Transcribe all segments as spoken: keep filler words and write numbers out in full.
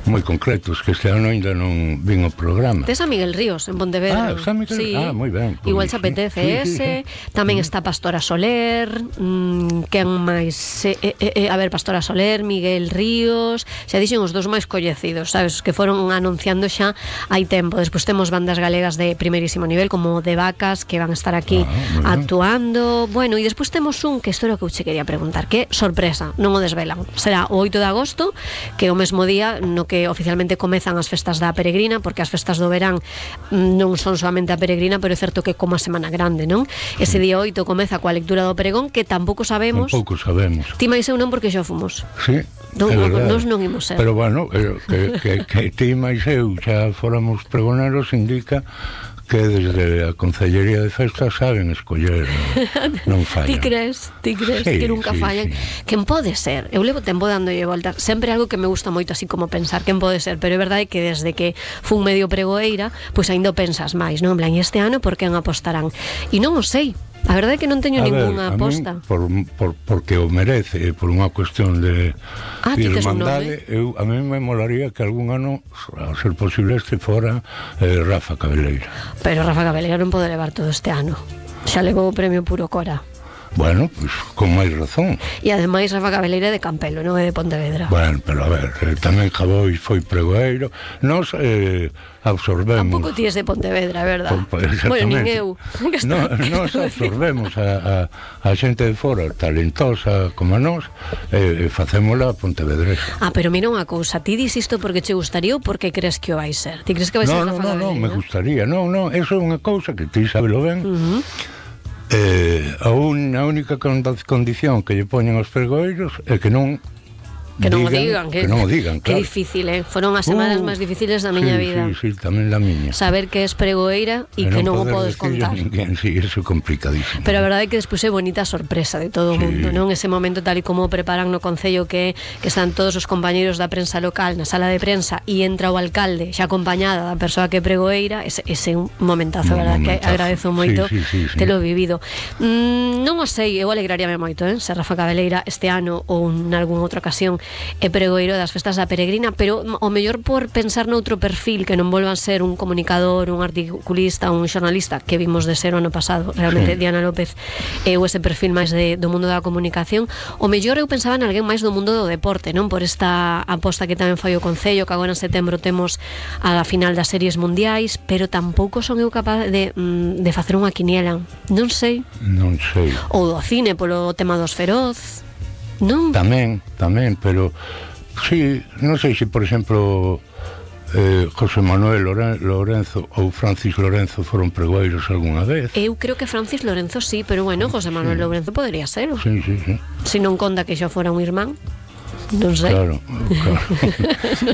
moi concretos, que este ano ainda non vin o programa. Tes a Miguel Ríos en Pontevedra. Ah, está Miguel Ríos. Sí. Ah, moi ben. Pues, igual se apetece sí, ese. Sí, sí. Tamén mm. está Pastora Soler, mmm, quen máis? Eh, eh, eh, a ver, Pastora Soler, Miguel Ríos, xa dixen os dous máis coñecidos, sabes, que foron anunciando xa hai tempo. Despois temos bandas galegas de primeirísimo nivel, como De Vacas, que van a estar aquí ah, actuando. Bueno, e despois temos un, que isto era o que eu che quería preguntar, que sorpresa, non o desvelan. Será o oito de agosto, que é o mesmo día no que oficialmente comezan as festas da Peregrina, porque as festas do verán non son solamente a Peregrina, pero é certo que como a Semana Grande, non? Ese día oito comeza coa lectura do pregón, que tampouco sabemos. Tampouco sabemos. Ti máis eu non, porque xa fomos. Sí, non, é verdade. Nos non imos ser. Pero bueno, que, que, que ti máis eu xa fóramos pregoneros indica que desde a Concellería de Festas saben escoller, non fallan. Ti crees, ti crees sí, que nunca sí, fallan? Sí. Quen pode ser? Eu levo tempo dándolle voltas. Sempre algo que me gusta moito, así como pensar quen pode ser, pero é verdade que desde que fun medio pregoeira, pois ainda pensas máis, non? En plan, este ano por quen apostarán? E non o sei. A verdade é que non teño a ningunha ver, aposta. Min, por, por, porque o merece, por unha cuestión de ah, irmandade, eu, a mí me molaría que algún ano, a ser posible, este fora eh, Rafa Cabeleira. Pero Rafa Cabeleira non pode levar todo este ano. Xa levou o premio Puro Cora. Bueno, pois, pues, con máis razón. E ademais Rafa Cabeleira é de Campelo, non é de Pontevedra. Bueno, pero a ver, eh, tamén Jaboi foi pregoeiro. Nos eh, absorbemos. Tampouco ti es de Pontevedra, é verdad? Pues, bueno, nin eu. No, nos absorbemos a, a, a xente de fora talentosa como a nós, e eh, facémola pontevedresa. Ah, pero mira unha cousa, ti dis isto porque che gustaría ou porque crees que o vai ser? Ti crees que vai no, ser no, Rafa no, Cabeleira? No, me gustaría. No, no, eso é unha cousa que ti sabelo ben. Uh -huh. Eh, a, un, a única condición que lle poñen aos pregoeiros é que non que non o digan, que, que non o digan, claro. Que difícil, eh? Foron as semanas uh, máis difíciles da miña sí, vida. Sí, sí, tamén da miña. Saber que es pregoeira e que non o podes contar. Ninguén, sí, eso é complicadísimo. Pero a verdade é que despois é bonita a sorpresa de todo o sí. mundo, non? Ese momento tal e como preparan no Concello que, que están todos os compañeros da prensa local na sala de prensa e entra o alcalde xa acompañada da persoa que é pregoeira, ese, ese é un momentazo, un verdad, momentazo. Que agradezo moito sí, sí, sí, sí. Telo vivido. Mm, non o sei, eu alegraríame moito, eh? Se Rafa Cabeleira este ano ou en algunha outra ocasión é pregoeiro das festas da Peregrina, pero o mellor por pensar noutro perfil que non volvan ser un comunicador, un articulista, un xornalista que vimos de ser o ano pasado, realmente sí. Diana López é o ese perfil máis de, do mundo da comunicación. O mellor eu pensaba en alguén máis do mundo do deporte, non? Por esta aposta que tamén foi o Concello, que agora en setembro temos a final das series mundiais, pero tampouco son eu capaz de, de facer unha quiniela. Non sei. Non sei. Ou do cine polo tema dos Feroz. Non? Tamén, tamén, pero sí, non sei se, por exemplo, eh, José Manuel Lorenzo ou Francis Lorenzo foron pregoeiros algunha vez. Eu creo que Francis Lorenzo sí, pero bueno, José Manuel sí. Lorenzo podría ser. Sí, sí, sí. Se non conta que xa fora un irmán, non sei. Claro, claro.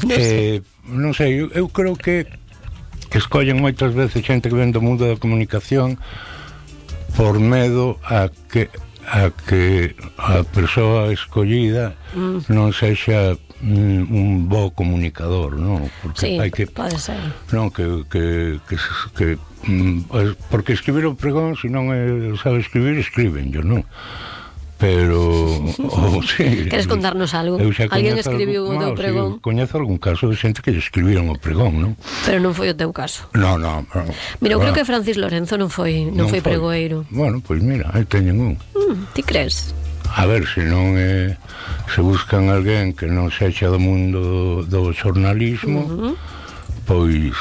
non, eh, non sei, eu, eu creo que que escollen moitas veces xente que ven do mundo da comunicación por medo a que a que a persoa escollida mm. non sexa mm, un bo comunicador, non? Porque sí, hai que, pode ser. Non, que, que, que, que mm, porque escribir o pregón, se non é, sabe escribir, escriben, yo non. Pero oh, sí, queres contarnos algo? Alguén escribiu o teu pregón? Sí, coñezo algún caso de xente que lle escribiron o pregón, non? Pero non foi o teu caso. No, no, no. Mira, eu creo que Francis Lorenzo non foi non, non foi pregoeiro. Bueno, pois pues mira, aí teñen un. Mm, ti crees? A ver, se non é, se buscan alguén que non sexa do mundo do xornalismo, uh -huh. pois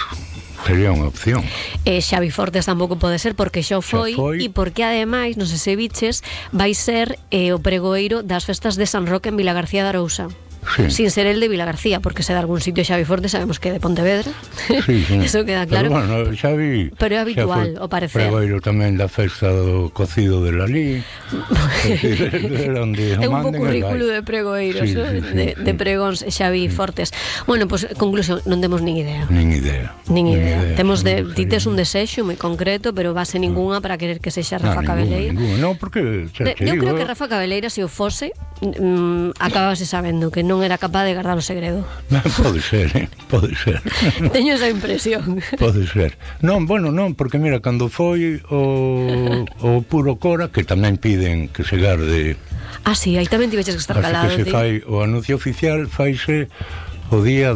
sería unha opción. E Xavi Fortes tampouco pode ser porque xa foi, foi. E porque ademais, non sei se biches, vai ser eh, o pregoeiro das festas de San Roque en Vilagarcía de Arousa. Sí. Sin ser el de Vilagarcía, porque se de algún sitio Xavi Forte sabemos que é de Pontevedra. Sí, sí. Eso queda claro. Pero bueno, Xavi, pero é habitual, o parecer. Pregoeiro tamén da festa do cocido de Lalí. É un pouco currículo de pregoeiros, sí, sí, sí, de, sí. de pregóns Xavi sí. Fortes. Bueno, pois, pues, conclusión, non temos nin idea. Nin idea. Nin idea. idea. Temos de, ti tes un desexo moi concreto, pero base ningunha para querer que sexa Rafa no, Cabeleira. Non, porque xa, de, eu creo que Rafa Cabeleira, se o fose, mm, acabase sabendo que non era capaz de guardar o segredo. Pode ser, eh? Pode ser. Teño esa impresión. Pode ser. Non, bueno, non, porque mira, cando foi o, o Puro Cora, que tamén piden que se garde. Ah, sí, aí tamén tiveches que estar calado. Que se fai o anuncio oficial, faise o día